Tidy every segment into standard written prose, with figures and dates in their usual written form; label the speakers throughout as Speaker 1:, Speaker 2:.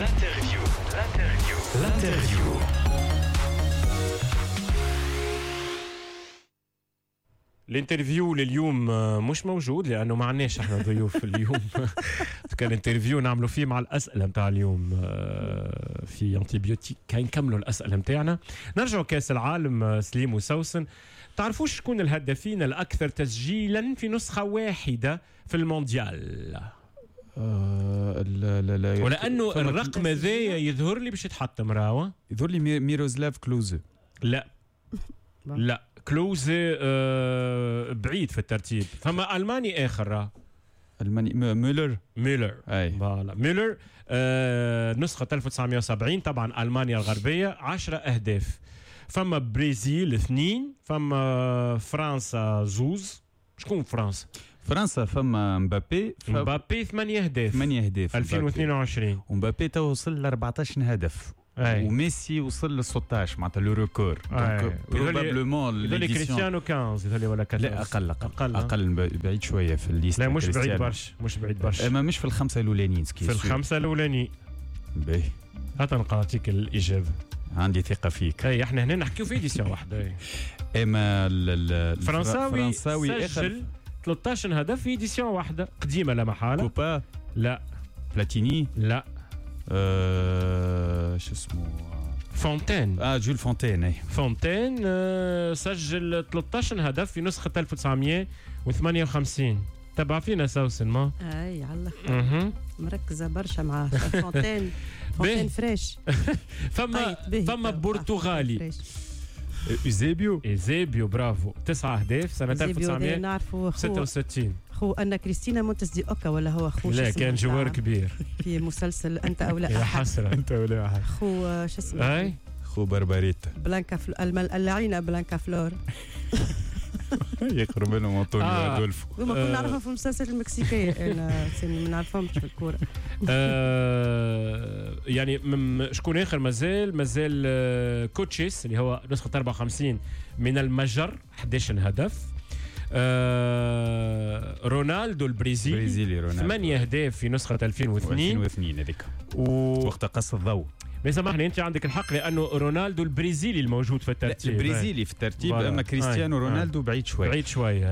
Speaker 1: L'interview. L'interview.
Speaker 2: ال interview لليوم مش موجود لانه ما عندناش احنا ضيوف اليوم. كان interview نعملوا فيه مع الاسئلة نتاع اليوم في antibiotique. كان نكملوا الاسئلة نتاعنا، نرجعوا كاس العالم. سليم وسوسن، تعرفوش شكون الهدافين الاكثر تسجيلا في نسخه واحدة في المونديال؟
Speaker 3: لا،
Speaker 2: ولانه الرقم هذايا يظهر لي باش يتحطم راهو.
Speaker 3: يظهر لي ميروزلاف كلوزه.
Speaker 2: لا لا، كلوزه بعيد في الترتيب. فما الماني اخر.
Speaker 3: الماني مولر.
Speaker 2: مولر، اي voilà مولر. نسخه 1970 طبعا، المانيا الغربيه، 10 اهداف. فما برازيل 2، فما فرنسا 2. شكون فرنسا؟
Speaker 3: فرنسا فما مبابي.
Speaker 2: مبابي 8 اهداف.
Speaker 3: 8 اهداف
Speaker 2: 2022.
Speaker 3: ومبابي تو وصل ل 14 هدف. أي. وميسي وصل ل 16، معناتها le record.
Speaker 2: donc probablement يظل كريستيانو 15 يظل ولا 14.
Speaker 3: لا، اقل اقل اقل، بعيد شوية في ال liste.
Speaker 2: لا، مش بعيد برشا، مش بعيد برشا.
Speaker 3: اما مش في الخمسة الاولانيين.
Speaker 2: في الخمسة الاولانيين.
Speaker 3: باهي،
Speaker 2: هات نعطيك الاجابه.
Speaker 3: عندي ثقة فيك.
Speaker 2: اي، احنا هنا نحكيو في édition واحده.
Speaker 3: اما
Speaker 2: الفرنساوي سجل 13 هدف في édition واحدة قديمة لا محاله.
Speaker 3: كوبا.
Speaker 2: لا.
Speaker 3: بلاتيني.
Speaker 2: لا.
Speaker 3: شو اسمه؟
Speaker 2: فونتين.
Speaker 3: جول فونتين، اي.
Speaker 2: فونتين سجل 13 هدف في نسخه 1958. تبع فينا سوسن ما؟
Speaker 4: اي، على الاخر مركزه برشا مع فونتين. فونتين fraîche.
Speaker 2: فما برتغالي.
Speaker 3: ايزيبيو.
Speaker 2: ايزيبيو، برافو، 9 اهداف سنة 1966.
Speaker 4: خو أن كريستينا مونتس دي أوكا ولا هو خو؟
Speaker 2: لا، كان joueur كبير.
Speaker 4: في مسلسل أنت أو لا
Speaker 2: يا
Speaker 4: أحد.
Speaker 2: حسرة.
Speaker 3: أنت ولا أحد.
Speaker 4: خو شو اسمه؟
Speaker 2: أي.
Speaker 3: خو بربريتا.
Speaker 4: بلانكا اللعينة بلانكا فلور.
Speaker 3: يقرب منهم أنطونيو أدولفو.
Speaker 4: هما كنا نعرفهم في المسلسلات المكسيكية، أنا ما نعرفهمش في الكورة.
Speaker 2: يعني شكون آخر مازال؟ كوتشيس اللي هو نسخة 54 من المجر، 11 هدف. رونالدو البرازيلي 8 اهداف في نسخة 2002.
Speaker 3: 2002 هذيك وقت قص الضوء.
Speaker 2: ما سامحني، انت عندك الحق لانه رونالدو البرازيلي الموجود في الترتيب.
Speaker 3: البرازيلي في الترتيب، اما كريستيانو رونالدو بعيد شوي.
Speaker 2: بعيد شوي،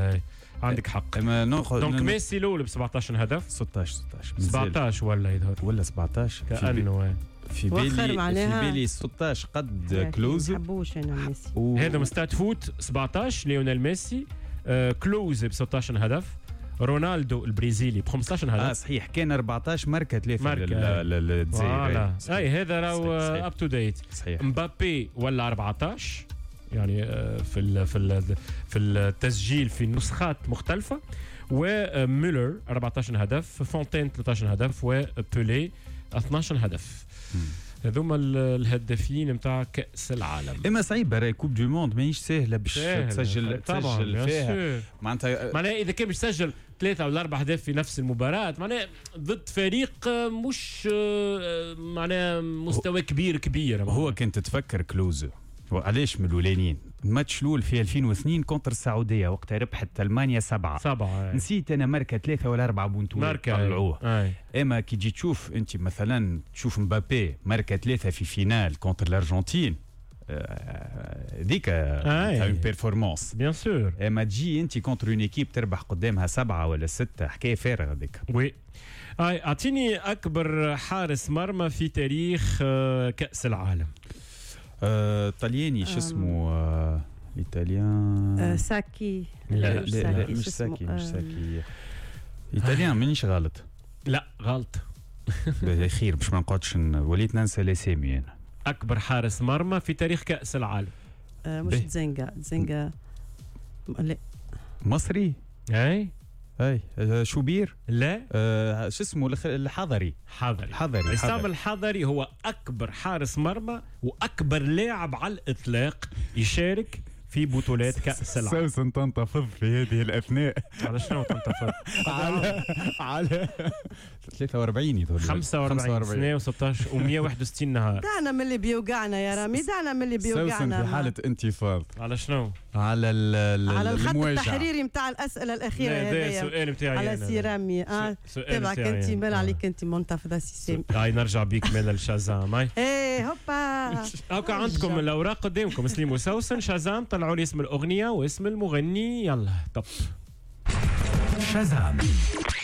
Speaker 2: عندك حق.
Speaker 3: اما
Speaker 2: donc ميسي الاول ب 17 هدف.
Speaker 3: 16 16.
Speaker 2: 17 ولا يظهر
Speaker 3: ولا 17.
Speaker 2: كانه
Speaker 3: في بالي 16 قد كلوز.
Speaker 4: ما نحبوش انا ميسي.
Speaker 2: هذا ستات فوت 17 ليونيل ميسي، كلوز ب 16 هدف، رونالدو البرازيلي ب 15 هدف.
Speaker 3: صحيح، كان 14 ماركة 3 للجزائر.
Speaker 2: اي، هذا راهو up to date.
Speaker 3: صحيح.
Speaker 2: مبابي ولا 14، يعني في التسجيل في نسخات مختلفه. ومولر 14 هدف، فونتين 13 هدف، وبولي 12 هدف. هذوما الهدافين نتاع كاس العالم.
Speaker 3: اما صعيبة راهي coupe du monde، ماهيش سهلة باش تسجل فيها.
Speaker 2: معناتها اذا كان باش تسجل 3 ولا 4 اهداف في نفس المباراة، معناها ضد فريق مش معناها مستوى كبير كبير.
Speaker 3: هو كنت تتفكر كلوز علاش من الاولانيين؟ الماتش الاول في 2002 contre السعوديه، وقتها ربحت المانيا 7
Speaker 2: 7.
Speaker 3: نسيت انا ماركة 3 ولا 4 بونتو طلعوه. اما كي تجي تشوف انت مثلا، تشوف مبابي ماركة 3 في finale contre الارجنتين، ذيك une performance.
Speaker 2: bien sûr.
Speaker 3: اما تجي انت contre une équipe تربح قدامها 7 ولا 6، حكاية فارغة هذيك.
Speaker 2: oui، اعطيني اكبر حارس مرمى في تاريخ كاس العالم.
Speaker 3: طلياني، شو اسمه italien؟
Speaker 4: ساكي.
Speaker 3: لا لا، مش ساكي، مش ساكي، italien، مانيش غلط؟
Speaker 2: لا، غلط.
Speaker 3: خير باش ما نقعدش وليت ننسى الاسامي انا.
Speaker 2: اكبر حارس مرمى في تاريخ كاس العالم.
Speaker 4: مش تزنجا؟ تزنجا لا.
Speaker 3: مصري.
Speaker 2: اي.
Speaker 3: اي، شوبير.
Speaker 2: لا.
Speaker 3: شو اسمه؟ الحضري.
Speaker 2: حضري.
Speaker 3: حضري.
Speaker 2: عصام الحضري هو اكبر حارس مرمى واكبر لاعب على الاطلاق يشارك في بطولات كأس العالم.
Speaker 3: سوسن تنتفض في هذه الأثناء.
Speaker 2: على شنو تنتفض؟
Speaker 3: على 43 يظهر
Speaker 2: 45 سنة و16 و161 نهار.
Speaker 4: دعنا من اللي بيوقعنا يا رامي، دعنا من اللي بيوقعنا.
Speaker 3: سوسن في حالة انتفاض.
Speaker 2: على شنو؟
Speaker 3: على
Speaker 4: على الخط التحريري نتاع الأسئلة الأخيرة.
Speaker 2: هذا السؤال نتاعي
Speaker 4: على سي رامي. تبعك أنت، مال عليك أنت منتفضة سي سامي.
Speaker 2: هاي نرجع بيك مال الشازام. هاي
Speaker 4: ايه هوبا.
Speaker 2: هاكا عندكم الأوراق قدامكم، سليم وسوسن. شازام، طلعوا لي اسم الأغنية واسم المغني. يلا top
Speaker 1: شازام.